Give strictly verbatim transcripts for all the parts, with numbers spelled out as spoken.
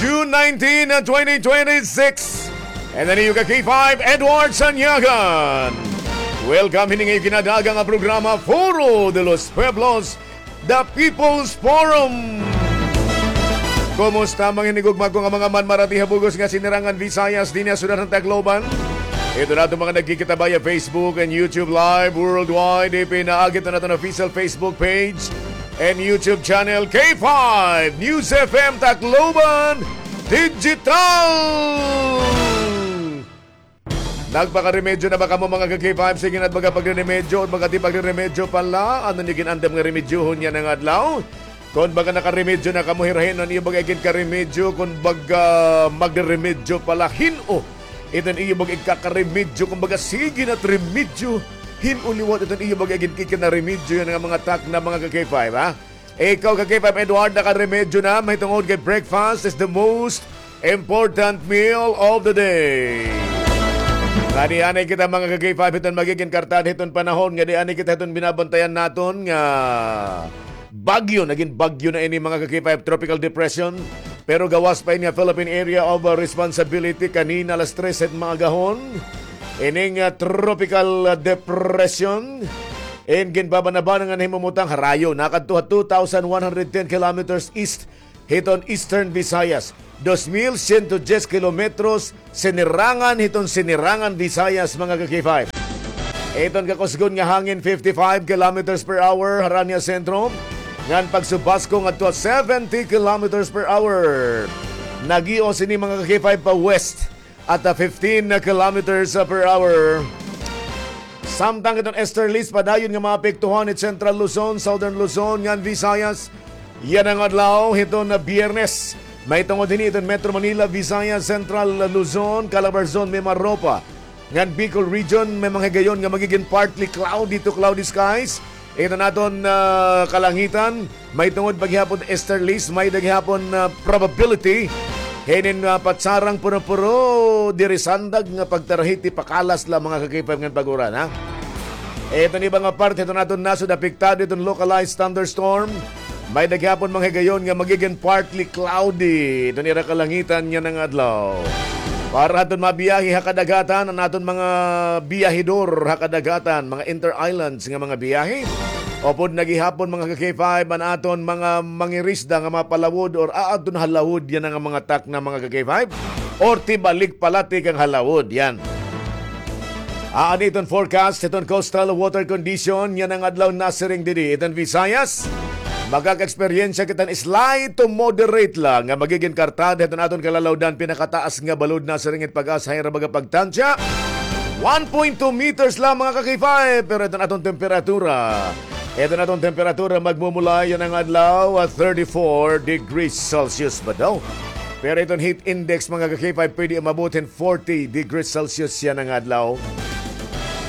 June nineteen, twenty twenty-six. And an iyo ka K five, Edward Sanyagan. Welcome hini nga iyo kinadagan nga programa, Foro de los Pueblos, The People's Forum. Kumusta, mga hinigugma ko nga mga manmarati ha bug-os nga sinirangan Visayas dinhi ha syudad han Tacloban? Ito na aton mga nagkikita via Facebook and YouTube Live worldwide. Ipinaagi ito na aton official Facebook page and YouTube channel, K five News F M Tacloban Digital. Nagpakaremedyo na ba kamo, mga ka-K five? Sige na, baga pagreremedyo, baga di pagreremedyo pala. Ano niyo ginandam nga remedyohon yana nga adlaw? Kon baga nakaremedyo na kamo, hirahin an iyo baga iginkaremedyo, kon baga magreremedyo pala, hin-o iton iyo baga igkakaremedyo, kon baga sige na remedyo, hin-o liwat iton iyo baga iginkikinaremedyo yana nga mga takna, mga ka-K five, ha? Ikaw, ka-K five Edward, nakaremedyo na, mahitungod kay breakfast is the most important meal of the day. Ngadi anay kita, mga ka-K five, hiton magigin kartad hiton panahon, ngadi anay kita hiton binabantayan naton nga bagyo, nagin bagyo na ini, mga ka-K five, tropical depression. Pero gawas pa ini nga Philippine Area of, uh, Responsibility kanina alas tres hit maagahon. Ining, uh, tropical, uh, depression in ginbabanabanan nga nahimumutang harayo, nakadto ha two thousand one hundred ten kilometers east hiton Eastern Visayas, dos mil siyento dyes kilometros sinirangan hiton sinirangan Visayas, mga ka-K five. Iton kakusgon nga hangin, fifty-five kilometers per hour, harani ha sentro, ngan pagsubasko ngadto ha seventy kilometers per hour. Nagios ini, mga ka-K five, pa west at, ah, fifteen kilometers per hour. Samtang iton easterlies, padayon nga maapektuhan it Central Luzon, Southern Luzon, ngan Visayas yana nga adlaw hiton Biyernes. Mahitungod hini iton Metro Manila, Visayas, Central Luzon, Calabarzon, Mimaropa, ngan Bicol Region, may mga higayon nga magigin partly cloudy to cloudy skies. Iton aton, ah, kalangitan, mahitungod pa gihapon easterlies, may-ada gihapon, ah, probability hinin, ah, patsarang puro-puro diri sandag nga pagtarahiti, pakalas la, mga ka-K five, ngan pag-uran, ha? Iton iba nga parte hiton aton nasod apektado hiton localized thunderstorm. May-ada gihapon mga higayon nga magigin partly cloudy iton ira kalangitan yana nga adlaw. Para hadton mabiyahe ha kadagatan, an aton mga biyahedor ha kadagatan, mga inter-islands nga mga biyahe, upod na gihapon, mga ka-K five, an aton mga mangirisda nga mapalawod or aadton ha lawod yana nga mga takna, mga ka-K five, or tibalik pala tikang ha lawod, yan. Aadi iton forecast hiton coastal water condition yana nga adlaw, nasiring didi iton Visayas. Makaka-eksperyensya kita hin slight to moderate la nga magigin kartad hiton aton kalalawdan, pinakataas nga balod, nasiring it PAGASA ha ira baga pagtansya. One point two meters la, mga ka-K five, pero iton aton temperatura, iton aton temperatura magmumula yana nga adlaw, ah, thirty-four degrees Celsius ba daw? Pero iton heat index, mga ka-K five, pwede umabot hin forty degrees Celsius yana nga adlaw.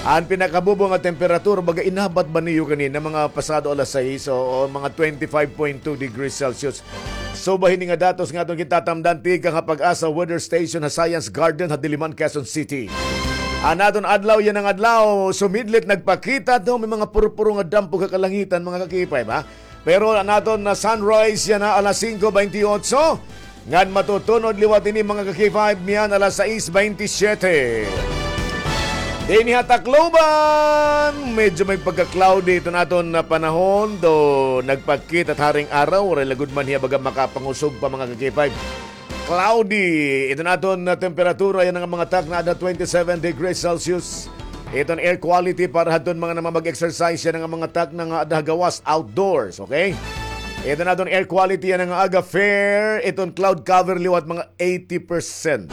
An pinakabubo nga temperatura, baga inabot ba niyo kanina, mga pasado alas sais, o, o mga twenty-five point two degrees Celsius. So, ba hini nga datos nga aton gitatamdan tikang ha PAGASA Weather Station ha Science Garden ha Diliman, Quezon City. An aton adlaw yana nga adlaw, sumidlit, nagpakita daw may mga purpuro nga dampog ha kalangitan, mga ka-K five, ha? Pero an aton nga sunrise yana alas singko bentiocho, ngan matutun-od liwat ini, mga ka-K five, niyan alas sais bentisiete. Dinhi ha Tacloban, medyo may pagka-cloudy iton aton nga panahon, do nagpakita it haring araw, waray la gud man hiya baga makapangusog pa, mga ka-K five. Cloudy. Iton aton nga temperatura yana nga mga takna, aada twenty-seven degrees Celsius. Iton air quality para hadton mga namamag-exercise yana nga mga takna nga aada ha gawas, outdoors, okay? Iton aton air quality yana nga aga, fair. Iton cloud cover liwat mga eighty percent.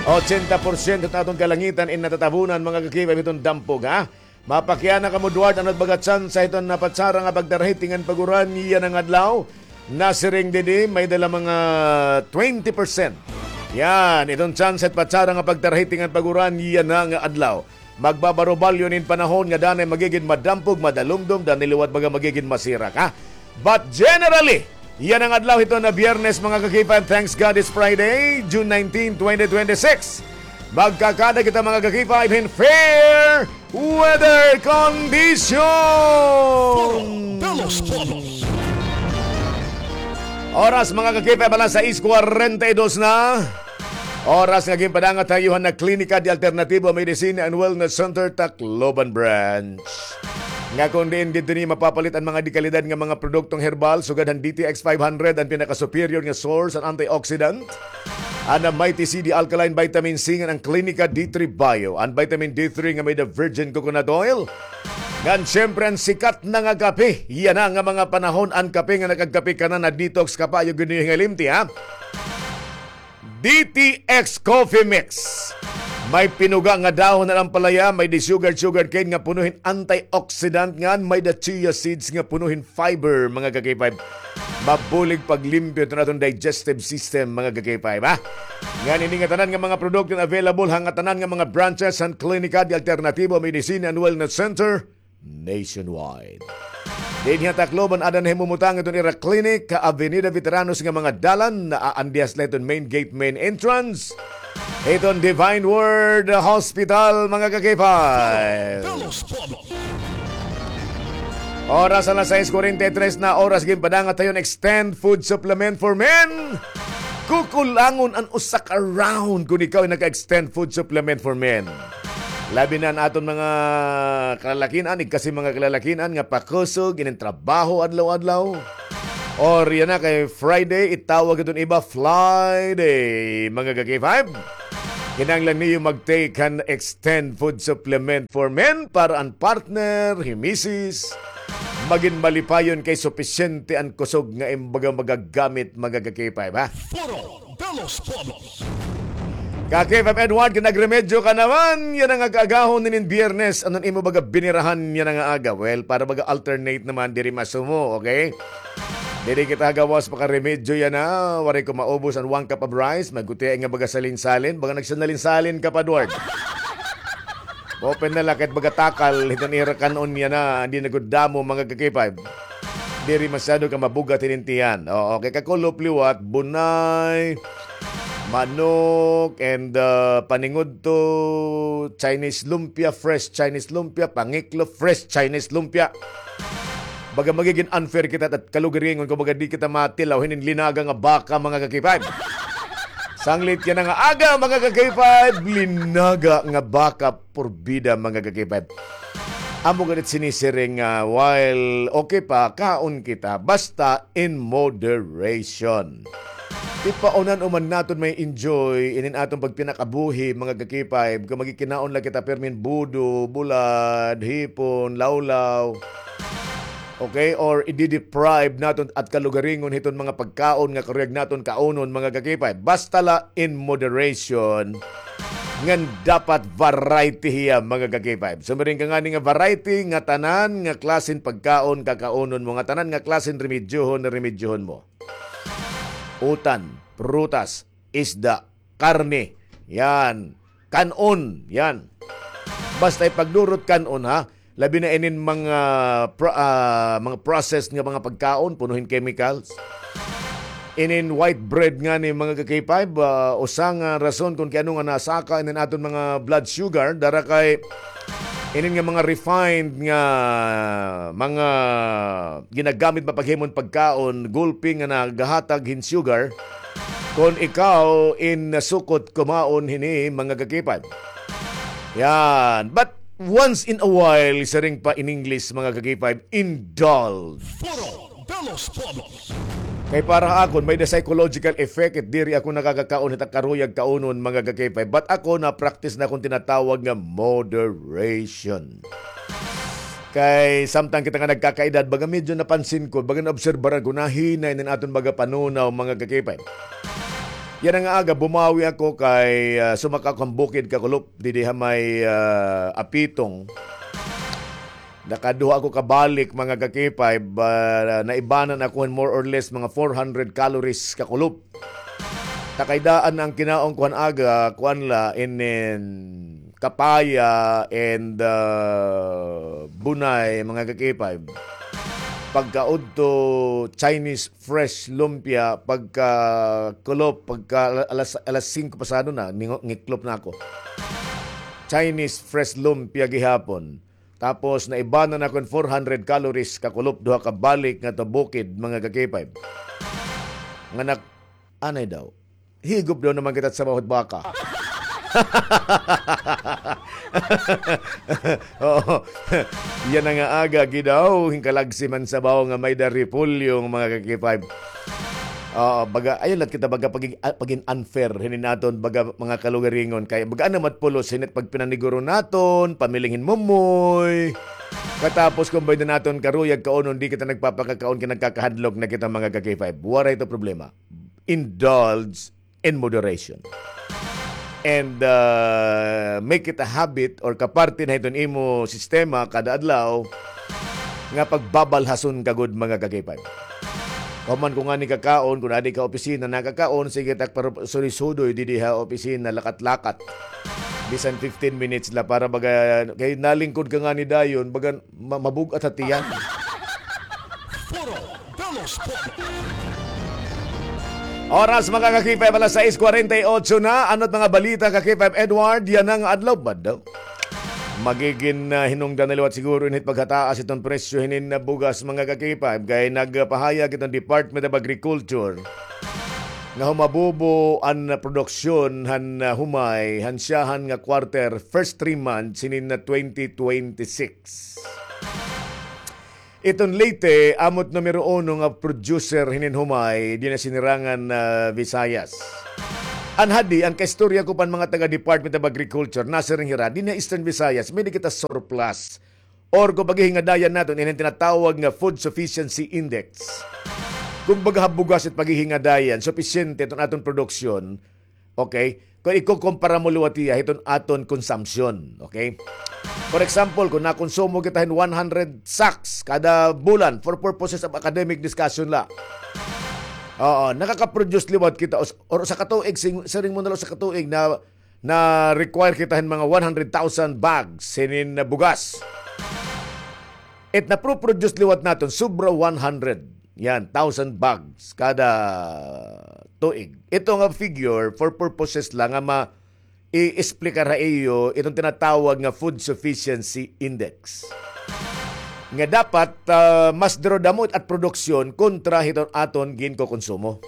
Ochenta porsyento it aton kalangitan in natatabunan, mga ka-K five, hiton dampog, ha? Mapakiana kamo, Duarte, ano it baga tsansa hiton patsara nga pagtarahiti ngan pag-uran yana nga adlaw? Nasiring didi, may-ada la mga twenty percent. Yan, iton tsansa hit patsara nga pagtarahiti ngan pag-uran yana nga adlaw. Magbabarubalyo inin panahon nga danay magigin madampog, madalumdom, danay liwat baga magigin masirak, ha? But generally, yana nga adlaw hiton Biyernes, mga ka-K five, thanks God it's Friday, June nineteen, twenty twenty-six. Magkakada kita, mga ka-K five, hin fair weather condition. Foro de los Pueblos. Oras, mga ka-K five, alas sais kwarenta y dos na. Oras nga ginpadangat ha iyo han Klinika de Alternativo Medicine and Wellness Center, Tacloban Branch. Nga kon diin didto niyo mapapalit an mga dekalidad nga mga produktong herbal, sugad han D T X five hundred, an pinaka-superior nga source an antioxidant. An Mighty C D Alkaline Vitamin C ngan an Klinika D three Bio, an vitamin D three nga may-ada virgin coconut oil. Ngan siyempre an sikat na nga kape. Yana nga mga panahon an kape nga nakagkape ka na, na-detox ka pa, ayaw gud niyo hingalimti, ha? D T X Coffee Mix. May pinuga nga dahon han ampalaya, may-ada sugar, sugar cane nga puno hin antioxidant, ngan may-ada chia seeds nga puno hin fiber, mga ka-K five. Mabulig paglimpyo hiton aton digestive system, mga ka-K five, ha? Ngan ini nga tanan nga mga produkto available ha ngatanan nga mga branches han Klinika de Alternativo Medicine and Wellness Center nationwide. Dinhi ha Tacloban, ada na himumutang hiton ira clinic ha Avenida Veteranos nga mga dalan, naandiha sila hiton main gate, main entrance hiton Divine Word Hospital, mga ka-K five. Oras alas sais kwarenta y tres na, oras ginpadangat ha iyo an Extend Food Supplement for Men. Kukulangon an usa ka round kon ikaw ay naka-Extend Food Supplement for Men. Labi na an aton mga kalalakin-an, igkasi mga kalalakin-an nga pakusog inin trabaho adlaw-adlaw. Or yana kay Friday, itawag iton iba Fly Day, mga ka-K five. Kinahanglan niyo mag-take han Extend Food Supplement for Men para an partner, hi misis, magin malipayon kay supisyente an kusog nga im baga magagamit, mga ka-K five, ha? Foro de los Pueblos. Ka-K five Edward, kay nagremedyo ka naman, yana nga kaagahon hinin Biyernes, ano an imo baga binirahan yana nga aga? Well, para baga alternate naman, diri masumo, okay? Diri kita gawas pakaremedyo yana, waray ko maubos an one cup of rice, magutiay nga baga salin-salin, baga nagsinalin-salin ka pa, Edward. Open na la, kahit baga takal, hiton ira kan-on yana, di na gud damo, mga ka-K five. Diri masyado ka mabugat hinin tiyan. Oo, kay kakulop liwat, bunay, manok, and, uh, paningudto, Chinese lumpia, fresh Chinese lumpia, pangiklo, fresh Chinese lumpia. Baga magigin unfair kita at kalugaringon kon baga di kita matilaw hinin linaga nga baka, mga ka-K five. Sanglit yana nga aga, mga ka-K five, linaga nga baka, porbida, mga ka-K five. Amo gud it sinisiring nga, while okay pa, kaon kita, basta in moderation. Tipaunan-o man naton ma-enjoy inin aton pagpinakabuhi, mga ka-K five, kon magikinaon la kita pirmi hin budo, bulad, hipon, lawlaw. Okay? Or i-deprive naton at kalugaringon hiton mga pagkaon nga karuyag naton kaunon, mga ka-K five. Basta la in moderation. Ngan dapat variety hiya, mga ka-K five. Sumiring ka ngani nga variety, ngatanan nga klase hin pagkaon kakaunon mo, ngatanan nga klase hin remedyohon, remedyohon mo. Utan, prutas, isda, karne, yan, kan-on, yan. Basta ipagdurot kan-on, ha? Labi na inin mga pro-, ah, mga processed nga mga pagkaon, puno hin chemicals. Inin white bread ngani, mga ka-K five, ah, usa nga rason kon kay ano nga nasaka inin aton mga blood sugar, dara kay inin nga mga refined nga mga ginagamit mapaghimo hin pagkaon, gulpi nga nagahatag hin sugar, kon ikaw in nasukot kumaon hini, mga ka-K five. Yan. But once in a while, siring pa in English, mga ka-K five, indulge. Foro de los Pueblos. Kay para ha akon, may-ada psychological effect, it diri ako nakakakaon hit ak karuyag kaunon, mga ka-K five. But ako, na-practice na akon tinatawag nga moderation. Kay samtang kita nga nagkakaedad, baga medyo napansin ko, baga naobserbaran ko, nahinay na an aton baga panunaw, mga ka-K five. Yana nga aga, bumawi ako kay, ah, sumaka ako han bukid kakulop, didi ha may, ah, Apitong. Nakaduha ako ka balik, mga ka-K five, ah, naibanan ako hin more or less mga four hundred calories kakulop. Ta kay daan an kinaon ko han aga, kuan la, inin kapaya and, ah, bunay, mga ka-K five. Pagkaudto, Chinese fresh lumpia, pagkakulop, pagka ala-, alas, alas singko pasado na, ningo-, ngiklop na ako. Chinese fresh lumpia gihapon. Tapos, naibanan ako hin four hundred calories kakulop, duha ka balik ngadto bukid, mga ka-K five. Nga nak-, anay daw. Higop daw naman kita sa bahot baka. Oo. Yana nga aga, gidaw, hinkalagsi man sabaw nga may-ada repolyo, mga ka-K five. Oo, baga, ayun lat kita, baga, pagin-, ah, pagin unfair, hinin aton, baga, mga kalugaringon, kay, baga, ano mat pulos, hinit pagpinaniguro naton, pamiling hin mumoy. Katapos, kung bayda naton karuyag kaunon, di kita nagpapakakaon, kay nagkakahadlok na kita, mga ka-K five. Waray to problema. Indulge in moderation. And, uh, make it a habit or kaparte na hiton imo sistema kada adlaw nga pagbabalhason ka gud, mga ka-K five. Kahuman ko ngani kakaon, kun adi ka opisina, nakakaon, sige, tak, pero sudoy-sudoy, didi ha opisina, lakat-lakat. Bisan fifteen minutes la para baga, kay nalingkod ka ngani dayon, baga ma-, mabug-at ha tiyan. Foro de los Pueblos. Oras, mga ka-K five, alas sais kwarenta y otso na. Ano it mga balita, ka-K five Edward? Yana nga adlaw ba daw? Magigin, ah, hinungdan na liwat siguro init paghataas iton presyo hinin, ah, bugas, mga ka-K five. Kay nagpahayag iton Department of Agriculture nga humabubo an, ah, produksyon han, ah, humay, han syahan nga quarter, first three months hinin, ah, twenty twenty-six. Iton Leyte, amo it numero uno nga producer hinin humay, dinhi ha sinirangan, ah, Visayas. An hadi, an kaistorya ko pa han mga taga Department of Agriculture, nasiring hira, dinhi ha Eastern Visayas, may-ada kita surplus. Or kung paghihingadayan naton, ini an tinatawag nga food sufficiency index. Kung baga ha bugas it paghihingadayan, supisyente iton aton produksyon, okay? Kung ikukumpara mo liwat hiya hiton aton consumption, okay? For example, kung nakonsumo kita hin one hundred sacks kada bulan for purposes of academic discussion la. Oo, nakaka-produce liwat kita us-, or usa ka tuig, sing-, siring mo na la usa ka tuig na, na require kita hin mga one hundred thousand bags hinin bugas. It napro-produce liwat naton, sobra one hundred. Yan, thousand bags kada tuig. Ito nga figure for purposes lang nga ma-, i-explicar ha iyo iton tinatawag nga food sufficiency index. Nga dapat, ah, mas duro damo it produksyon kontra hiton aton ginkokonsumo.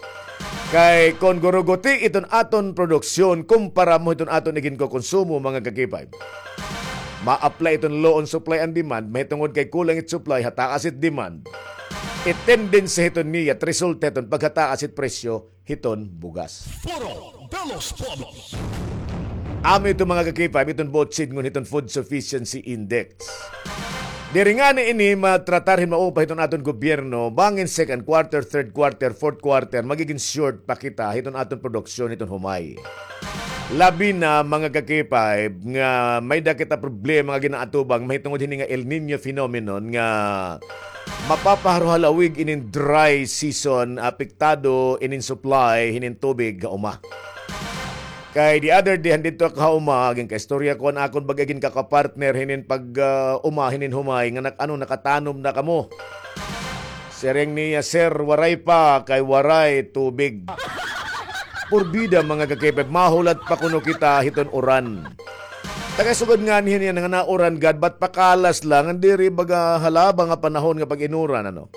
Kay kon guruguti iton aton produksyon kumpara mo hiton aton iginkokonsumo, mga ka-K five, ma-apply iton law on supply and demand, mahitungod kay kulang it supply, hataas it demand. It tendency hiton niya, it resulta hiton paghataas it presyo hiton bugas. Foro de los Pueblos. Amo ito, mga ka-K five, iton buot sidngon hiton food sufficiency index. Diri ngani ini matratar hin maupay hiton aton gobyerno, bangin second quarter, third quarter, fourth quarter, magigin short pa kita hiton aton produksyon hiton humay. Labi na, mga ka-K five, nga may-ada kita problema nga ginaatubang mahitungod hini nga El Niño phenomenon nga mapapaharuhalawig inin dry season, apektado inin supply hinin tubig ha uma. Kay the other day, han didto ako ha uma, ginkaistorya ko an akon bag-o ginkapartner hinin pag, ah, uma, hinin humay, nga nak-, ano, nakatanom na kamo. Siring niya, "Sir, waray pa, kay waray tubig." Purbida, mga ka-K five, mahulat pa kuno kita hiton uran. Taga sugad ngani hini nga nauran gad, bat pakalas la, ngan diri baga halaba nga panahon nga pag-inuran, ano.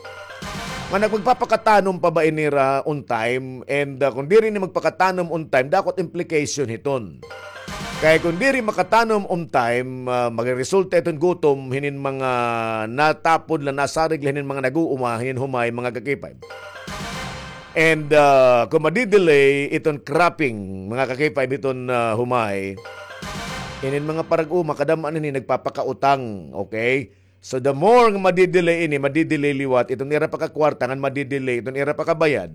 Nga nagpagpapakatanom pa ba ini hira on time, and, ah, kon diri ini magpakatanom on time, dako it implication hiton. Kay kon diri makatanom on time, ah, magresulta iton gutom hinin mga natapod la, nasarig la hinin mga nag-uuma hinin humay, mga ka-K five. And, ah, kon madidelay iton cropping, mga ka-K five, hiton, ah, humay, inin mga parag-uma, kadam-an ini nagpapakautang, okay? So, the more nga madidelay ini, madidelay liwat iton ira pakakwarta, ngan madidelay iton ira pakabayad.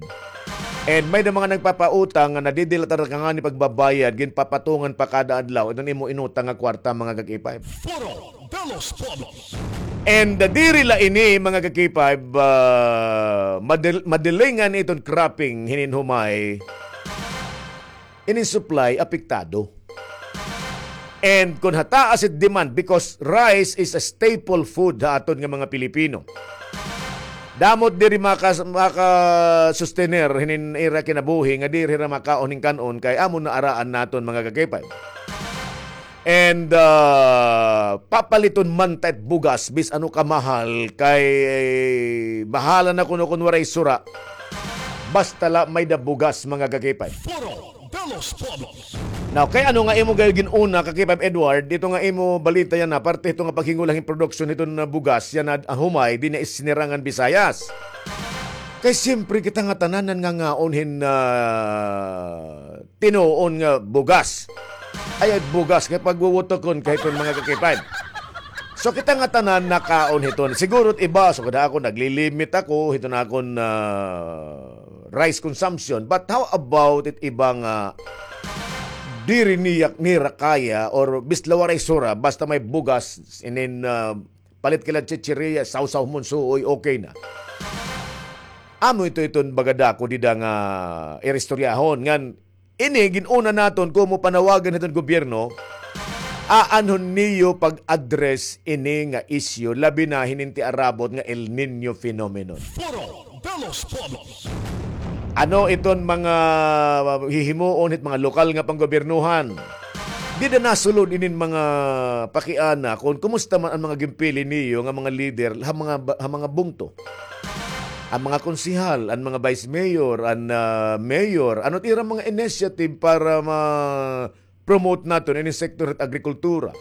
And may-ada mga nagpapautang nga nadidelay talaga ngani pagbabayad, ginpapatungan pa kada adlaw iton imo inutang nga kwarta, mga ka-K five. Foro de los Pueblos. And, uh, diri la ini, mga ka-K five, uh, madel-, madelay ngani iton cropping hinin humay, inin supply apektado. And kon hataas it demand, because rice is a staple food ha aton nga mga Pilipino. Damo it diri maka-, maka-sustener hinin ira kinabuhi nga diri hira makaon hin kan-on kay amo na araan naton, mga ka-K five. And, ah, papaliton man ta it bugas, bis ano kamahal, kay bahala na kuno kon waray sura. Basta la may-ada bugas, mga ka-K five. Foro de los Pueblos. Now, kay ano nga imo gayod gin-una, ka-K five Edward, ito nga imo balita yana, parte ito nga paghingulang hin production hiton, ah, bugas yana, ah, humay dinhi ha Sinirangan Visayas. Kay siyempre kita nga tanan nangangawon hin, ah, tinuon nga bugas. Ay, ay, bugas kay pagwuwutokon kay hiton, mga ka-K five. So, kita nga tanan nakaon hiton. Siguro it iba, so kada ako naglilimit ako hiton akon, ah, rice consumption. But how about it iba nga diri niya, nira kaya or bisan la waray sura, basta may bugas, inin, ah, palit ka la chichirya, sawsaw mo hin suoy, okay na. Amo ito, iton baga dako dida nga iristoryahon ngan ini gin-una naton komo panawagan hiton gobyerno, aanhon niyo pag-address ini nga isyu, labi na hinin tiarabot nga El Niño phenomenon. Foro de los Pueblos. Ano iton mga hihimuon hit mga lokal nga panggobiernohan? Dida nasulod inin mga pakiana kon kumusta man an mga ginpili niyo nga mga lider ha mga ba-, ha mga bungto. An mga konsehal, an mga vice mayor, an, ah, mayor, ano it ira mga initiative para ma-promote naton ini sektor hit agrikultura?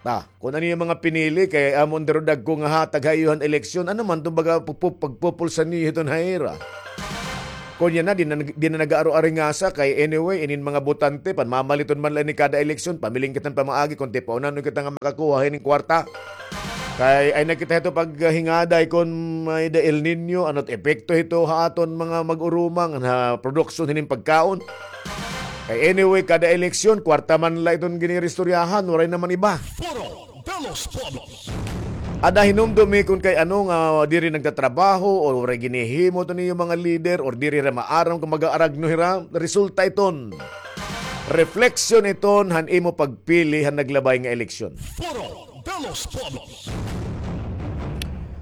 Ta, kon ano it mga pinili, kay amo an daro dagko nga hatag ha iyo han eleksyon, ano man iton baga pagpu-, pagpupulsa niyo hiton ha ira? Kon yana, di na, di na nag-aaro-aringasa, kay anyway, inin mga botante, panmamaliton man la ini kada eleksyon, pamiling kita hin pamaagi, kon tipaonan kita nga makakuha hinin kwarta. Kay ay na kita hito paghingaday kon may-ada El Niño, ano it epekto hito ha aton mga mag-urumang, ha produksyon hinin pagkaon. Kay anyway, kada eleksyon, kwarta man la iton giniristoryahan, waray naman iba. Foro de los Pueblos. Ada hinumdumi kon kay ano nga diri nagtatrabaho o waray ginhihimo iton iyo mga lider or diri hira maaram kon mag-aaragno hira, resulta iton. Refleksyon iton han imo pagpili han naglabay nga eleksyon. Foro de los Pueblos.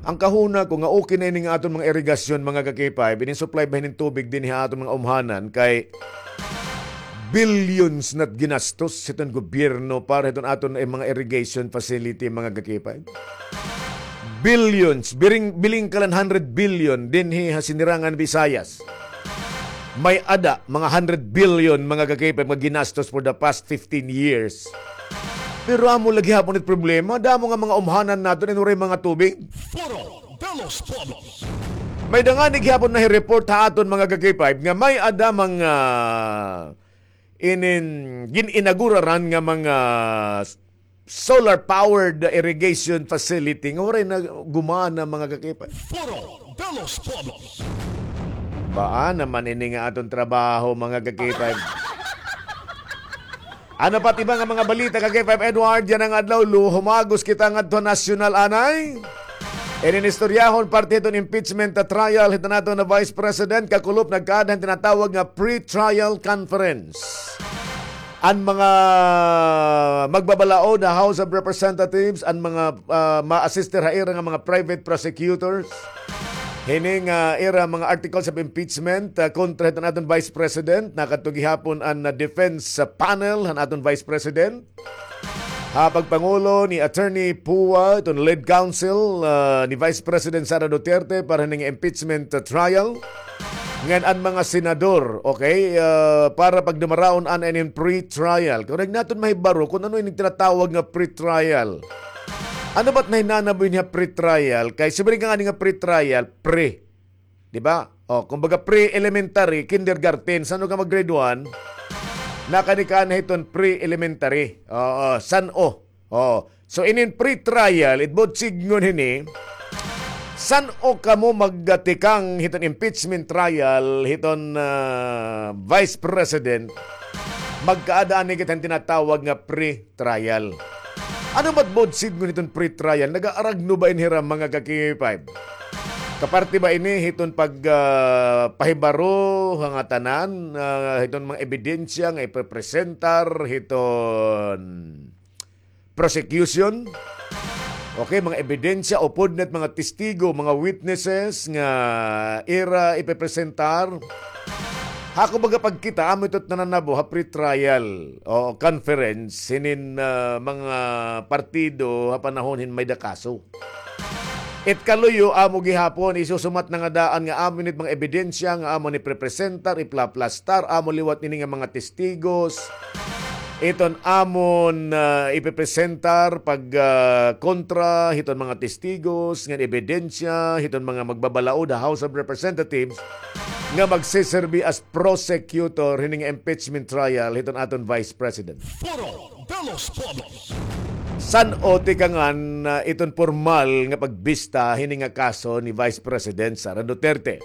An kahuna ko nga okay na ini nga aton mga irigasyon, mga ka-K five, ini supply ba hinin tubig dinhi ha aton mga umhanan kay billions na it ginastos hiton gobyerno para hiton aton, eh, mga irrigation facility, mga ka-K five. Billions, biring, biling ka la hin hundred billion dinhi ha Sinirangan Visayas. May-ada mga hundred billion, mga ka-K five, nga ginastos for the past fifteen years. Pero amo la gihapon it problema, damo nga mga umhanan naton waray mga tubig. Foro de los Pueblos. May-ada ngani gihapon nahi-report ha aton, mga ka-K five, nga may-ada mga inin gin-inaguraran nga mga solar-powered irrigation facility nga waray na gumana, mga ka-K five. Foro de los Pueblos. Baa naman ini nga aton trabaho, mga ka-K five. Ano pa it iba nga mga balita, ka-K five Edward, yana nga adlaw, lu-, humagos kita ngadto ha nasyonal anay. Inin istoryahon parte hiton impeachment trial hiton aton nga Vice President, kakulop nagkaada hin tinatawag nga pre-trial conference. An mga magbabalaod ha House of Representatives, an mga, ah, ma-assist ha ira nga mga private prosecutors, hini nga ira mga articles of impeachment, ah, kontra hiton aton Vice President, nakadto gihapon an, ah, defense, ah, panel han aton Vice President. Ha pagpangulo ni Attorney Pua, iton lead counsel, ah, ni Vice President Sara Duterte para hini nga impeachment, ah, trial. Ngan an mga senador, okay, ah, para pagdumaraon an inin pre-trial. Kay waray naton mahibaro kon ano ini tinatawag nga pre-trial. Ano ba it nahinanabo ini nga pre-trial? Kay siring ka ngani nga pre-trial, pre. Di ba? O, kumbaga pre-elementary, kindergarten, san-o ka mag-grade one, nakadi ka na hiton pre-elementary. Oo, san-o. Oo. So, inin pre-trial, it buot sidngon hini, san-o kamo magtikang hiton impeachment trial, hiton, ah, Vice President, magkaada anay kita hin tinatawag nga pre- trial. Ano ba it buot sidngon hiton pre-trial? Nag-aaragno ba ini hira, mga ka-K five? Kaparte ba ini hiton pag, ah, pahibaro ha ngatanan, ah, hiton mga ebidensya nga ipepresentar hiton prosecution? Okay, mga ebidensya, upod na it mga testigo, mga witnesses nga ira ipepresentar. Ha akon baga pagkita, amo ito it nananabo ha pre-trial o conference hinin, ah, mga partido ha panahon hin may-ada kaso. It kaluyo, amo gihapon, isusumat na nga daan nga amo ini it mga ebidensya nga amo ini iprepresentar, iplaplastar, amo liwat ini nga mga testigos. Iton amon, ah, ipepresentar pag, ah, kontra hiton mga testigos ngan ebidensya hiton mga magbabalaod ha House of Representatives nga magsiserbi as prosecutor hini nga impeachment trial hiton aton Vice President. Foro de los Pueblos. San-o tikangan, ah, iton pormal nga pagbista hini nga kaso ni Vice President Sara Duterte?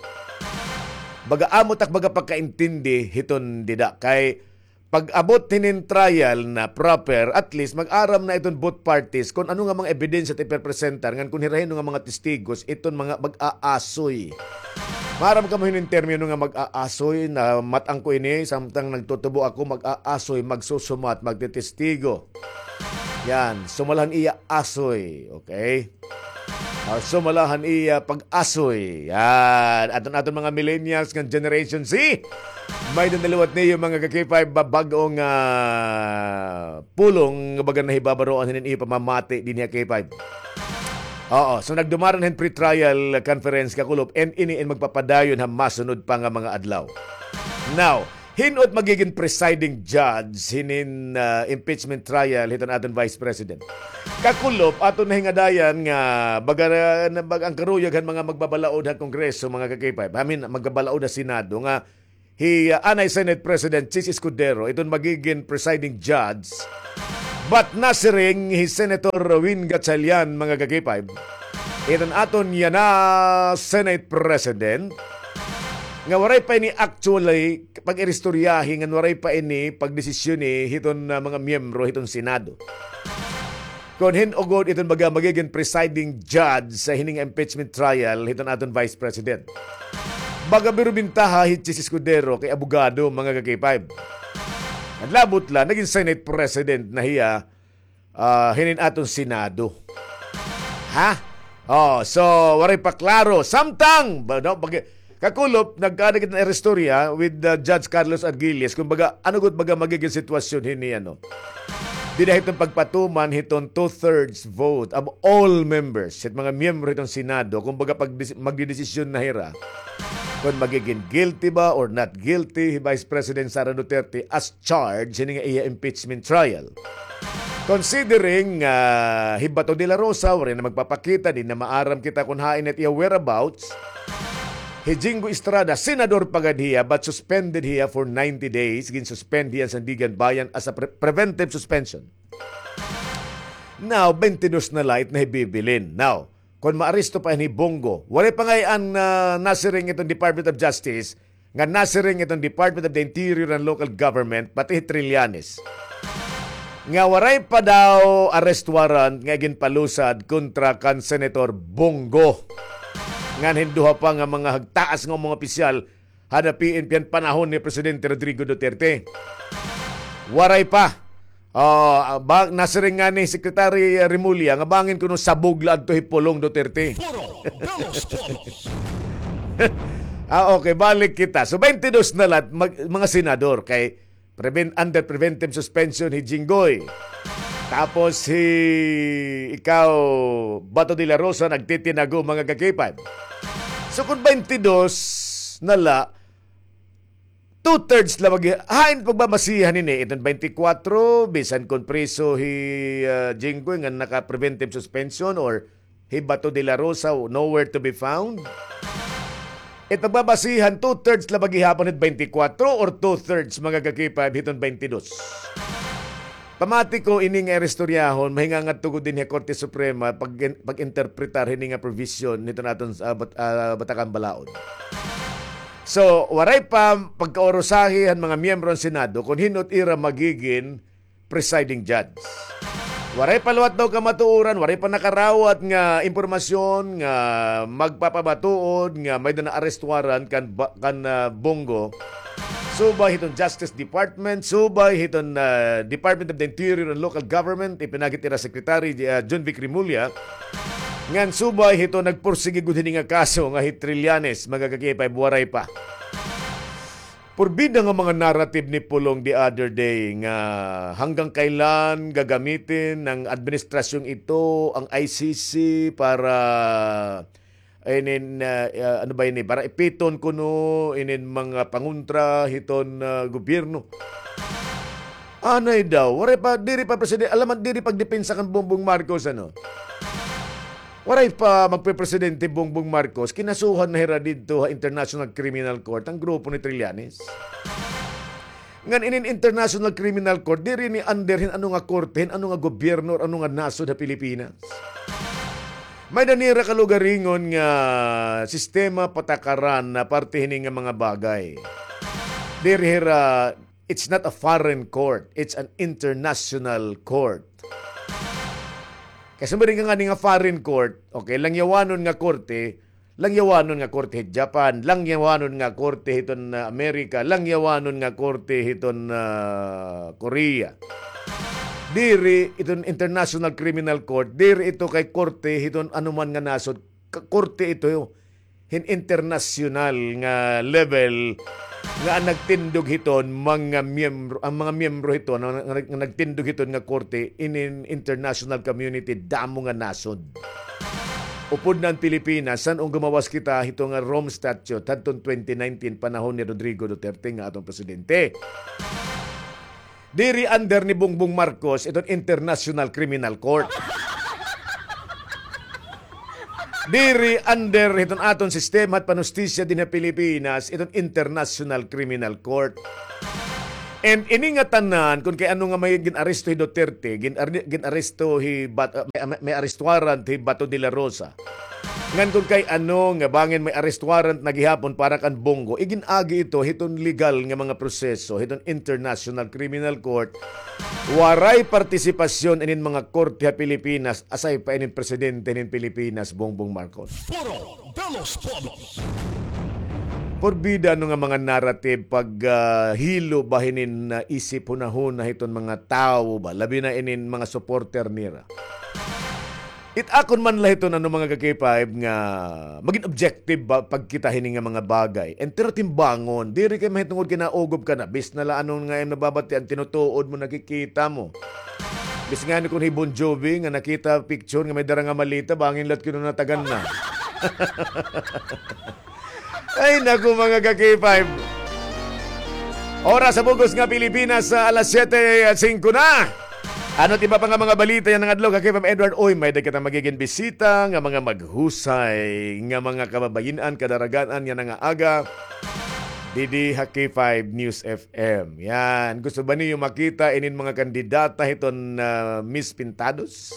Baga amo tak baga pagkaintindi hiton dida kay pag-abot hinin trial na proper, at least mag-aram na iton both parties kon ano nga mga ebidensya it ipepresentar ngan kon hira hin-o nga mga testigos iton mga mag-aasoy. Maaram kamo hinin termino nga mag-aasoy, namat-an ko ini samtang nagtutubo ako, mag-aasoy, magsusumat, magtetestigo. Yan, sumala han iya asoy, okay? Ah, sumala han iya pag-asoy. Yan, aton, aton mga millennials ngan Generation Z. May-ada na liwat niyo mga ka-K five ba-, bag-ong, ah, pulong nga baga nahibabaroan hinin iyo pamamati dinhi ha K five. Oo, so nagdumaran hin pre-trial conference kakulop, and ini in magpapadayon ha masunod pa nga mga adlaw. Now, hin-o it magigin presiding judge hinin, ah, impeachment trial hiton aton Vice President? Kakulop, aton nahingadayan nga baga, na, baga an karuyag han mga magbabalaod ha Kongreso, mga ka-K five, I mean, magbabalaod ha Senado nga hi, ah, anay Senate President Chiz Escudero iton magigin presiding judge. But nasiring hi Senator Win Gatchalian, mga ka-K five, iton aton yana Senate President, nga waray pa ini actually pag-iristoryahi ngan waray pa ini pagdesisyoni hiton, ah, mga miyembro hiton Senado. Kon hin-o gud iton baga magigin presiding judge sa hini nga impeachment trial hiton aton Vice President. Baga biro bintaha hi Chiz Escudero kay abogado, mga ka-K five. Naglaabot la, nagin Senate President na hiya, ah, hinin aton Senado. Ha? Oh, so, waray pa klaro. Samtang, ba, no, pag, kakulop, nagkaada kita hin istorya with, uh, Judge Carlos Argilles. Kumbaga, ano gud baga magigin sitwasyon hini, ano? Dida hiton pagpatuman hiton two-thirds vote of all members, hit mga miyembro hiton Senado, kumbaga, pag dis-, magdidesisyon na hira kon magigin guilty ba or not guilty hi Vice President Sara Duterte as charge hini nga iya impeachment trial. Considering, ah, hi Bato de la Rosa, waray na magpapakita, di na maaram kita kon hain it iya whereabouts. Hi Jinggoy Estrada, senador pa gad hiya, but suspended hiya for ninety days. Ginsuspend hiya han Sandiganbayan as a pre-, preventive suspension. Now, baynte dos na la it nahibibilin. Now, kon maaresto pa ini hi Bong Go, waray pa ngay-an, ah, nasiring iton Department of Justice, nga nasiring iton Department of the Interior and Local Government, pati hi Trillanes, nga waray pa daw arrest warrant nga iginpalusad kontra kan Senator Bong Go ngan hin duha pa nga mga hagtaas nga mga opisyal han P N P han panahon ni Presidente Rodrigo Duterte. Waray pa. Ah, ba, nasiring ngani Secretary Remulla nga bangin kuno sabog la adto hi Pulong Duterte. Foro de los Pueblos. Ah, okay, balik kita. So, baynte dos na la, mag-, mga senador kay prevent-, under preventive suspension hi Jinggoy. Tapos hi, ikaw, Bato de la Rosa, nagtitinago, mga ka-K five. So, kon baynte dos na la, two-thirds la mag-, hain pagbabasihan ini, iton baynte kwatro, bisan kon priso hi, ah, Jinggoy nga naka-preventive suspension or hi Bato de la Rosa, nowhere to be found. It pagbabasihan, two-thirds la ba gihapon hit baynte kwatro or two-thirds, mga ka-K five, hiton baynte dos? Pamati ko ini nga iristoryahon, mahingangadto gud dinhi ha Korte Suprema pag-, pag-interpretar hini nga provision hiton aton, ah, bat-, ah, Batakan Balaod. So, waray pa pagkaurusahi han mga miyembro han Senado kon hin-o it ira magigin presiding judge. Waray pa liwat daw kamatuoran, waray pa nakarawat nga impormasyon nga magpapamatuod nga may-ada na arrest warrant kan ba-, kan, ah, Bong Go. Subay hiton Justice Department, subay hiton, ah, Department of the Interior and Local Government, ipinagi hit ira Secretary, ah, Jonvic Remulla. Ngan subay hiton nagpursigi gud hini nga kaso nga hi Trillanes, mga ka-K five, waray pa. Purbida nga mga narrative ni Pulong the other day nga hanggang kailan gagamitin ng administrasyong ito ang I C C para, inin, ah, ah, ano ba ini? Para ipiton kuno inin mga pangontra hiton, ah, gobyerno. Anay daw, waray pa, diri pa presidente, alam man, diri pagdepensa kan Bongbong Marcos, ano? Waray pa magpe-presidente Bongbong Marcos, kinasuhan na hira didto ha International Criminal Court ang grupo ni Trillanes. Ngan inin International Criminal Court, diri ini under hin ano nga korte, hin ano nga gobyerno, or ano nga nasod ha Pilipinas. May-ada nira kalugaringon nga sistema, patakaran na parte hini nga mga bagay. Diri hira, it's not a foreign court, it's an international court. Kay sumari ka ngani nga foreign court, okay, langyawanon nga korte, langyawanon nga korte hit Japan, langyawanon nga korte hiton, ah, Amerika, langyawanon nga korte hiton, ah, Korea. Diri iton International Criminal Court, diri ito kay korte hiton anuman nga nasod, k-, korte ito hin internasyonal nga level nga ang nagtindog hiton mga miyembro, ang mga miyembro hiton nga, nga, nga nagtindog hiton nga korte inin international community, damo nga nasod. Upod na an Pilipinas, san-o gumawas kita hito nga Rome Statute hadton twenty nineteen, panahon ni Rodrigo Duterte nga aton presidente. Diri under ni Bongbong Marcos iton International Criminal Court. Diri under hiton aton sistema hit panhustisya dinhi ha Pilipinas iton International Criminal Court. And ini nga tanan, kun kay ano nga may gin-aresto hi Duterte, gin-, gin-aresto hi Bat-, ah, may, may, may arrest warrant hi Bato de la Rosa. Ngan kun kay ano nga bangin may arrest warrant na gihapon para kan Bong Go, igin-agi ito hiton legal nga mga proseso hiton International Criminal Court. Waray partisipasyon inin mga korte ha Pilipinas, aside pa inin presidente hinin Pilipinas, Bongbong Marcos. Foro de los Pueblos. Purbida ano nga mga narrative pag, ah, hilo ba hinin, ah, isip, hunahuna hiton mga tawo ba, labi na inin mga supporter nira. It akon man la hiton ano, mga ka-K five, nga magin objective ba pagkita hini nga mga bagay. And pero timbangon, diri kay mahitungod kay naugob ka na. Bis na la ano nga imo nababatian, tinutuod mo, nakikita mo. Bis ngani kun hi Bon Jovi nga nakita picture nga may dara nga maleta, bangin la it kinunatagan na. Ay, naku, mga ka-K five. Oras sa bug-os nga Pilipinas, sa alas siyete singko na. Ano it iba pa nga mga balita yana nga adlaw, ka-K five Edward? Uy, may-ada kita magigin bisita nga mga maghusay nga mga kababayin-an, kadaragan-an yana nga aga didi ha K five News F M. Yan. Gusto ba niyo makita inin mga kandidata hiton, ah, Miss Pintados?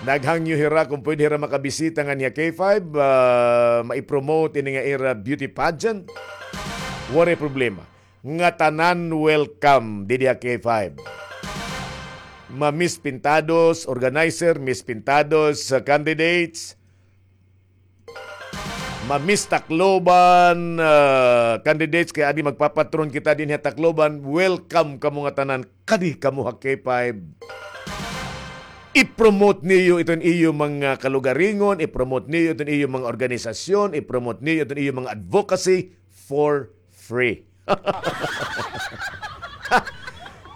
Naghangyo hira kon pwede hira makabisita nganhi ha K five, ah, mai-promote ini nga ira beauty pageant. Waray problema. Ngatanan welcome didi ha K five. Ma-Miss Pintados, organizer, Miss Pintados, ah, candidates, ma-Miss Tacloban, ah, candidates, kay adi magpapatron kita dinhi ha Tacloban. Welcome kamo ngatanan, kadi kamo ha K five. I-promote niyo iton iyo mga kalugaringon, i-promote niyo iton iyo mga organisasyon, i-promote niyo iton iyo mga advocacy for free.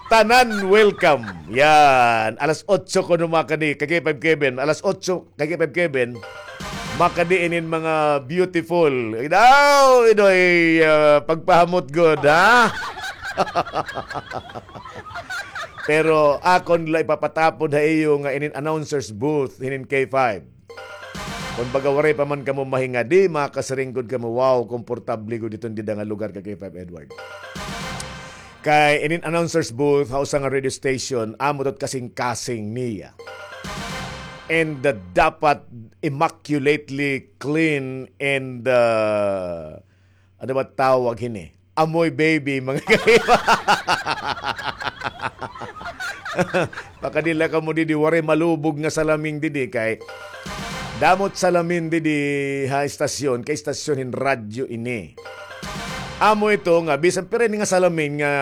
Tanan welcome. Yan. Alas otso kuno makadi, ka-K five Kevin. Alas otso, ka-K five Kevin. Makadi inin mga beautiful. Daw, idoy, ah, pagpahamot gud, ha? Pero akon la ipapatapod ha iyo nga inin announcer's booth, hinin K five. Kon baga waray pa man kamo mahingadi, makasiring gud kamo, "Wow, komportable gud iton dida nga lugar," ka-K five Edward. Kay inin announcer's booth ha usa nga radio station, amo it kasingkasing niya. And, uh, dapat immaculately clean and, uh, ano ba tawag hini? Amoy baby, mga kaiba. Pakadi la kamo didi, waray malubog nga salamin didi kay damo it salamin didi ha istasyon, kay istasyon hin radyo ini. Amo ito nga, bisan pira ini nga salamin nga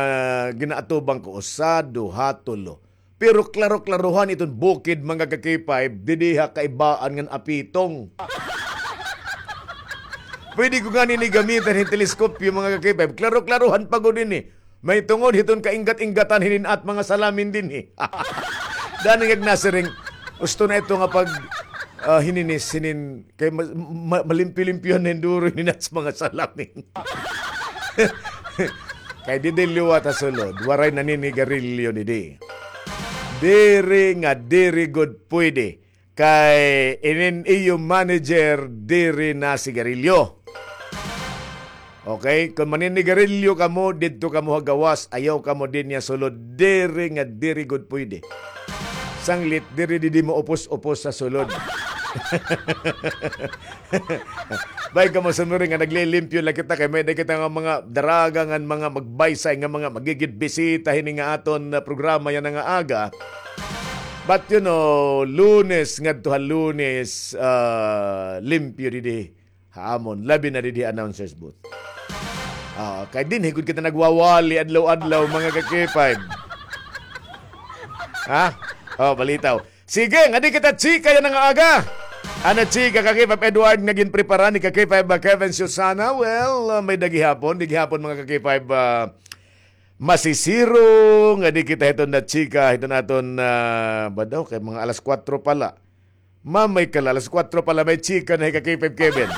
ginaatubang ko, usa, duha, tulo. Pero klaro-klarohan iton bukid, mga ka-K five, didi ha kaibaan ngan apitong. Pwede ko ngani ini gamitan hin teleskopyo, mga ka-K five. Klaro-klarohan pa gud ini. May tungod hiton kainggat-inggatan hinin at mga salamin dinhi. Dani nga nasiring, gusto na ito nga pag, ah, hininis, hinin, kay ma-, ma-, malimpyo-limpyo na yung duro hinin at mga salamin. Kay didi liwat ha sulod, waray naninigarilyo didi. Diri nga diri gud pwede. Kay inin iyo manager diri nasigarilyo. Okay, kon maninigarilyo kamo, didto kamo ha gawas, ayaw kamo dinhi ha sulod, diri nga diri gud pwede. Sanglit, diri didi maupos-upos sa sulod. Bay kamo sumuri nga naglilimpyo la kita, kay may-ada kita nga mga daraga ngan mga magbaysay nga mga magigid bisita hini nga aton, ah, programa yana nga aga. But, you know, Lunes ngadto ha Lunes, ah, limpyo didi ha amon, labi na didi ha announcers booth. Ah, kay dinhi gud kita nagwawali adlaw-adlaw, mga ka-K five. Ha? Oh, balitaw. Sige, ngadi kita chika yana nga aga. Ano chika, ka-K five Edward, nga ginprepara ni ka-K five, ah, Kevin Susana? Well, ah, may-ada gihapon, didi gihapon, mga ka-K five, ah, masisiro, ngadi kita hiton na chika, hiton aton, ah, ba daw, kay mga alas kwatro pa la. Mamay ka la, alas kwatro pa la, may chika na hi ka-K five Kevin.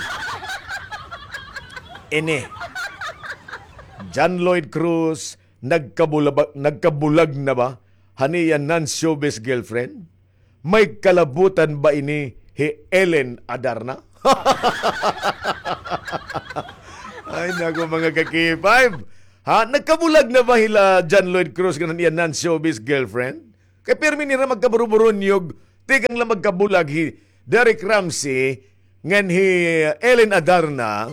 Ini. John Lloyd Cruz, nagkabulaba-, nagkabulag na ba han iya non-showbiz girlfriend? May kalabutan ba ini hi Ellen Adarna? Ay, naku, mga ka-K five. Ha? Nagkabulag na ba hila John Lloyd Cruz ngan han iya non-showbiz girlfriend? Kay pirmi nira magkaburuburunyog, tikang la magkabulag hi Derek Ramsey ngan hi Ellen Adarna.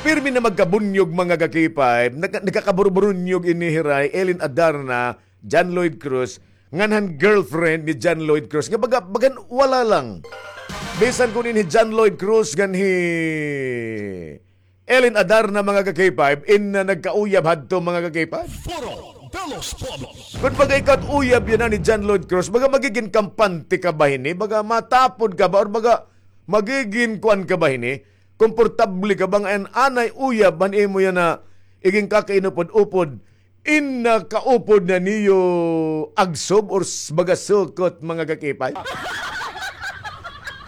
Pirmi na magkabunyog, mga ka-K five, nagka-, nagkakaburuburunyog ini hira hi Ellen Adarna, John Lloyd Cruz, ngan han girlfriend ni John Lloyd Cruz. Nga baga, bagan wala lang. Bisan kuno ini hi John Lloyd Cruz ngan hi Ellen Adarna, mga ka-K five, in, uh, nagkauyab hadto, mga ka-K five. Foro de los Pueblos. Kun baga ikaw uyab yana ni John Lloyd Cruz, baga magigin kampante ka ba hini? Baga matapod ka ba? Or baga magigin kuan ka ba hini? Komportable ka ba nga an anay uyab han imo yana igin kakainupod-upod? In nakaupod na niyo agsob or s-, baga sukot, mga ka-K five?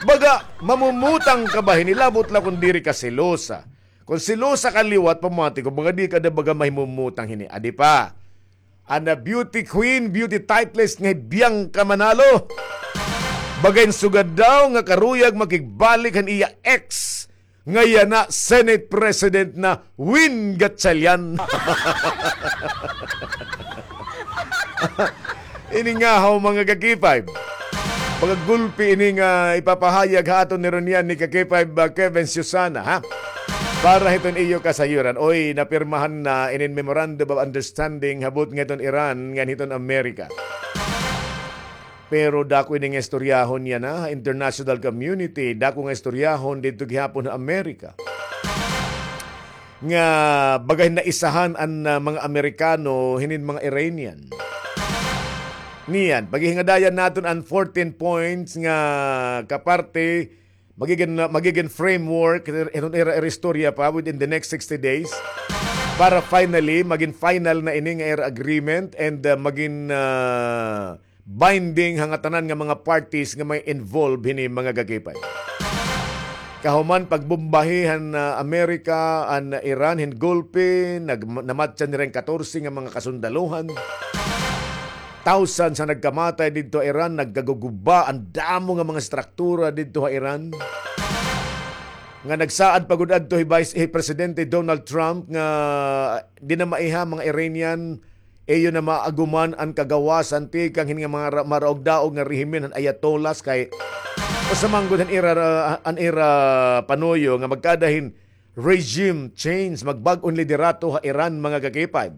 Baga, mamumutang ka ba hini? Labot la kon diri ka selosa. Kon selosa ka liwat, pamati ko, baga di ka na baga mahimumutang hini. Adi pa. An beauty queen, beauty titleist nga hi Bianca Manalo. Baga in sugad daw nga karuyag makigbalik han iya ex nga yana Senate President na Win Gatchalian. Ini ngahaw, mga ka-K five. Mga gulpi ini nga ipapahayag ha aton ni Ronian ni ka-K five, uh, Kevin Susana, ha? Para hiton iyo kasayuran. Oy, napirmahan na inin Memorandum of Understanding habot nga hiton Iran ngan hiton Amerika. Pero dako ini nga istoryahon yana ha international community, dako nga istoryahon didto gihapon ha Amerika. Nga baga hin naisahan an, ah, mga Amerikano hinin mga Iranian. Niyan, paghihingadayan naton an fourteen points nga kaparte magigin, magigin framework, iton ira, ira istorya pa within the next sixty days para finally magin final na ini nga ira agreement and, uh, magin, uh, binding ha ngatanan nga mga parties nga may involved hini, mga ka-K five. Kahuman pagbombahi han, uh, Amerika an Iran hin golpe, nag-, namatyan nira hin katorse nga mga kasundalohan. Thousands an nagkamatay didto ha Iran, nagkaguguba an damo nga mga struktura didto ha Iran. Nga nagsaad pa gud adto hi Vice, hi Presidente Donald Trump nga di na maiha mga Iranian, iyo na maaguman an kagawasan tikang hini nga mga ra-, maraog-daog nga rehimen han Ayatollahs kay usa man gud han ira, an ira panuyo nga magkada hin regime change, magbag-o hin liderato ha Iran, mga ka-K five.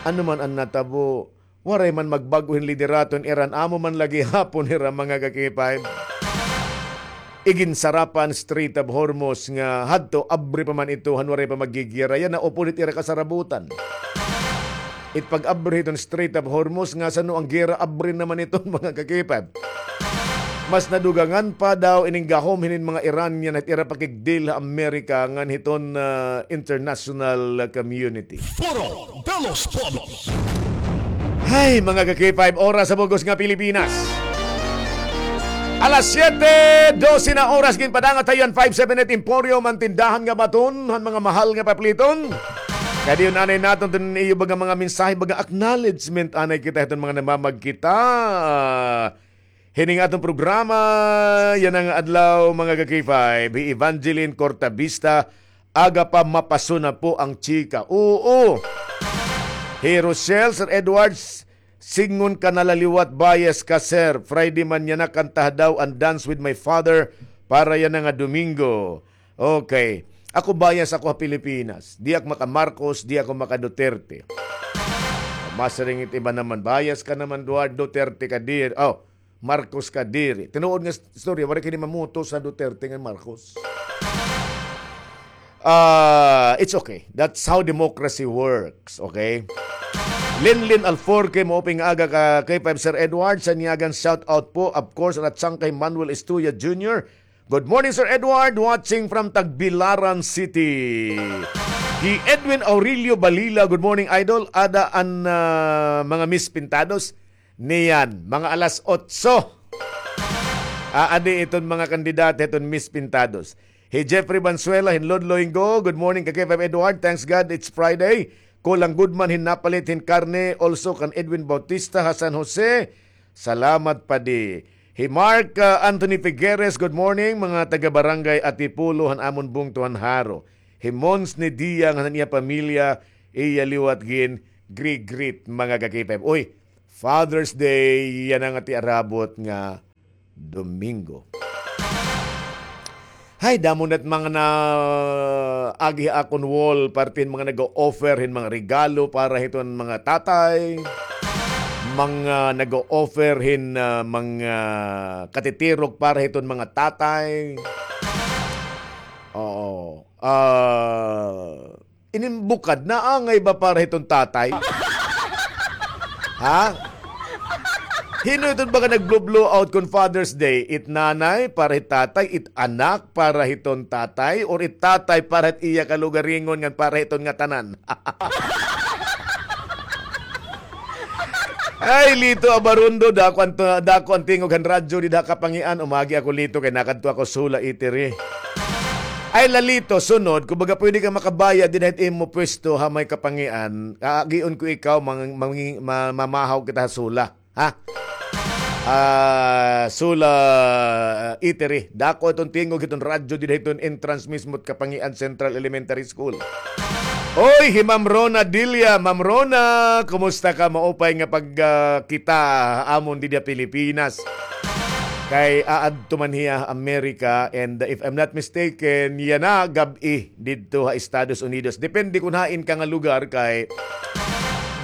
Ano man an natabo, waray man magbag-o hin liderato hin Iran, amo man la gihapon hira, mga ka-K five. Iginsara pa an Strait of Hormuz nga hadto, abri pa man ito, han waray pa maggigera. Yana upod it ira kasarabutan. It pag-abri hiton Strait of Hormuz, nga san-o an gera, abri na man iton, mga ka-K five. Mas nadugangan pa daw ining gahom hinin mga Iranian hit ira pakigdil ha Amerika ngan hiton, ah, international community. Foro de los Pueblos. Hay, mga ka-K five, oras sa bug-os nga Pilipinas. Alas siyete dose na oras, ginpadangat ha iyo an five seven eight Emporium, an tindahan nga baton han mga mahal nga papliton. Kadi anay naton iton iyo baga mga mensahe, baga acknowledgement anay kita hiton mga namamagkita. Hini nga aton programa yana nga adlaw, mga ka-K five, hi Evangeline Cortavista, aga pa mapaso na po ang chika. Oo. Hi Rochelle, Sir Edwards, sidngon ka na la liwat, bias ka, sir. Friday man yana, kanta daw an Dance with My Father para yana nga Domingo. Okay. Ako, bias ako ha Pilipinas. Di ako maka-Marcos, di ako maka-Duterte. Masiring it iba naman, bias ka naman, Duar-, Duterte ka diri. Oh, Marcos ka diri. Tinuod nga s-, istorya, waray kini mamuto sa Duterte ngan Marcos. Ah, it's okay. That's how democracy works, okay? Linlin Alforque, maupay nga aga ka-K five, Sir Edward, Sanyagan, shout out po, of course, at Sangkay Manuel Estuya Junior. Good morning, Sir Edward. Watching from Tagbilaran City. Hi Edwin Aurelio Balila, good morning, Idol. Ada an, ah, mga Miss Pintados? Niyan, mga alas otso. Aadi iton mga kandidata hiton Miss Pintados. Hi Jeffrey Banzuela, hin Lodlo, Ingo, good morning, ka-K five Edward. Thanks God, it's Friday. Kulang gud man hin napalit hin karne. Also kan Edwin Bautista ha San Jose. Salamat, padi. Hi Mark, ah, Anthony Figueres, good morning, mga taga Barangay Atipulo han amon bungto han Jaro. Hi Mons ni Dia ngan an iya pamilya, iya liwat gin-greet, mga ka-K five. Uy, Father's Day, yana nga iti arabot nga Domingo. Hay, damo na it mga naagi ha akon wall, parte hin mga nag-o-offer hin mga regalo para hiton mga tatay, mga nag-o-offer hin, ah, mga katitirok para hiton mga tatay. Oo. Ah, Inin bukad, naangay ba para hiton tatay? Ha? Hin-o iton baga nag-blow-blow out kon Father's Day? It nanay para hit tatay, it anak para hiton tatay, or it tatay para hit iya kalugaringon ngan para hiton ngatanan? Ay, Lito Abarundo, dako an, dako an tingog han radyo dida ha Kapangian. Umagi ako, Lito, kay nakadto ako Sula, Itiri. Ay, Lalito, sunod, kon baga pwede ka makabayad dida hit imo pwesto ha may Kapangian, aagion ko ikaw, mang-, mang-, ma-, mamahaw kita ha Sula. Ha? Ah, Sula, ah, Itiri. Dako iton tingog hiton radyo dida hiton entrance mismo hit Kapangian Central Elementary School. Oy, hi Ma'am Rona Dilia. Ma'am Rona, kumusta ka? Maupay nga pagkita ha amon dida Pilipinas. Kay aadto man hiya America, and if I'm not mistaken, yana gab-i didto ha Estados Unidos. Depende kon hain ka nga lugar, kay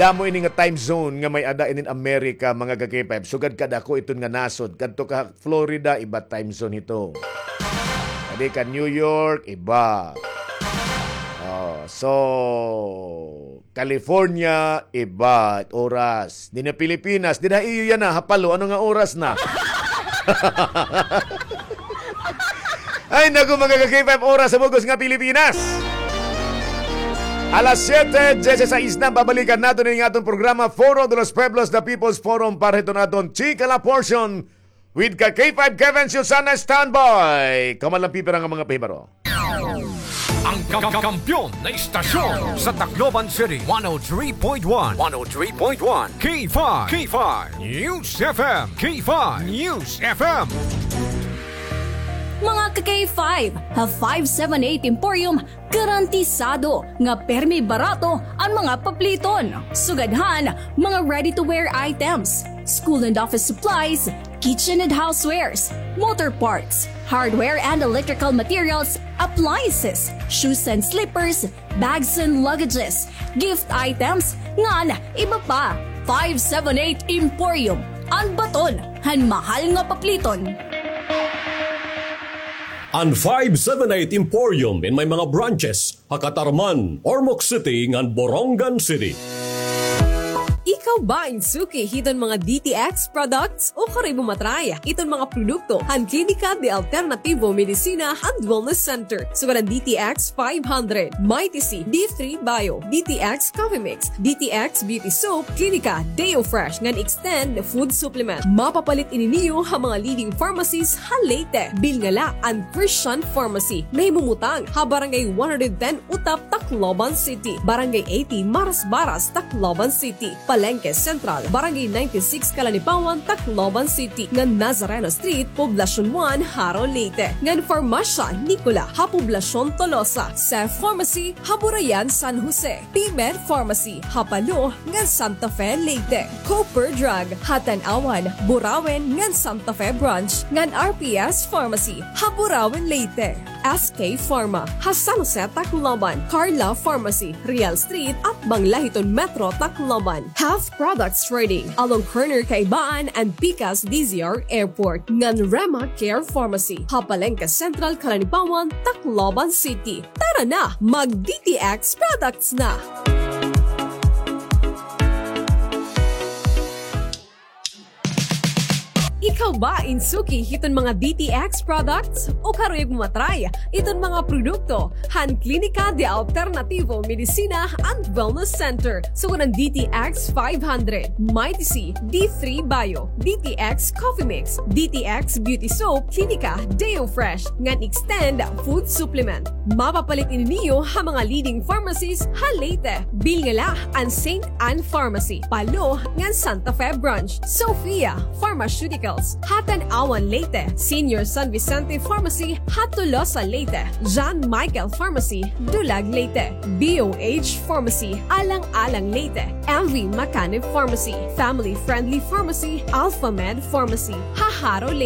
damo ini nga time zone nga may-ada inin America, mga ka-K five. Sugad kadako iton nga nasod. Kadto ka Florida, iba time zone hito. Kadi ka New York, iba. Oh, so, California, iba it oras. Dida Pilipinas, dida ha iyo yana, ha Palo, ano nga oras na? Ay, naku, mga ka-K five, oras sa bug-os nga Pilipinas. Alas siyete, diyesisais na, babalikan naton ini nga aton programa, Foro de los Pueblos, The People's Forum, para hiton aton Chika La Portion. With ka K five Kevin Susana, standby. Kamo la an pipira nga mga pahibaro. Ang kam-, kampiyon na istasyon sa Tacloban City, one oh three point one, one oh three point one, K five, K five News F M, K five News F M. Mga ka-K five, ha five seven eight Emporium, garantisado nga permi barato an mga papliton. Sugad han mga ready-to-wear items, school and office supplies, kitchen and housewares, motor parts, hardware and electrical materials, appliances, shoes and slippers, bags and luggages, gift items, ngan iba pa. Five seven eight Emporium, an baton han mahal nga papliton. An five seven eight Emporium in may mga branches ha Catarman, Ormoc City, ngan Borongan City. Ika Ikaw ba in suki hiton mga D T X products? Ukara ibo matry iton mga produkto han Klinika de Alternativo Medicina and Wellness Center. Sugad an D T X five hundred, Mighty C, D three Bio, D T X Coffee Mix, D T X Beauty Soap, Klinika Deo Fresh ngan Extend Food Supplement. Mapapalit ini niyo ha mga leading pharmacies ha Leyte. Bilnga la an Christian Pharmacy, nahimumutang ha Barangay one hundred ten Utap, Tacloban City, Barangay eighty Marasbaras, Tacloban City, Palengke Central, Barangay ninety-six Calanipawan, Tacloban City, ngan Nazareno Street, Poblacion one, Jaro, Leyte, ngan Farmasya Nicola ha Poblacion Tolosa, Cef Pharmacy ha Burayan, San Jose, P-Med Pharmacy ha Palo ngan Santa Fe, Leyte, Cooper Drug ha Tanauan, Burauen ngan Santa Fe Branch, ngan R P S Pharmacy ha Burauen, Leyte. S K Pharma ha San Jose, Tacloban, Carla Pharmacy, Real Street, atbang la hiton Metro Tacloban, Health Products Trading, along corner Kaibaan and Pikas D Z R Airport, ngan Rema Care Pharmacy ha Palengke Central, Calanipawan, Tacloban City. Tara na, mag D T X products na! Ikaw ba in suki hiton mga D T X products? Ukara ibo matry iton mga produkto han Klinika de Alternativo Medicina and Wellness Center. Sugad an D T X five hundred, Mighty C, D three Bio, D T X Coffee Mix, D T X Beauty Soap, Klinika Deo Fresh, ngan Extend Food Supplement. Mapapalit ini niyo ha mga leading pharmacies ha Leyte. Bilnga la an Saint Ann Pharmacy, Palo, ngan Santa Fe Branch, Sophia Pharmaceuticals ha Tanauan, Leyte, Senior San Vicente Pharmacy ha Tolosa, Leyte, John Michael Pharmacy, Dulag, Leyte, B O H Pharmacy, Alang-alang, Leyte, M V Macanib Pharmacy, Family Friendly Pharmacy, Alpha Med Pharmacy ha Jaro, Leyte.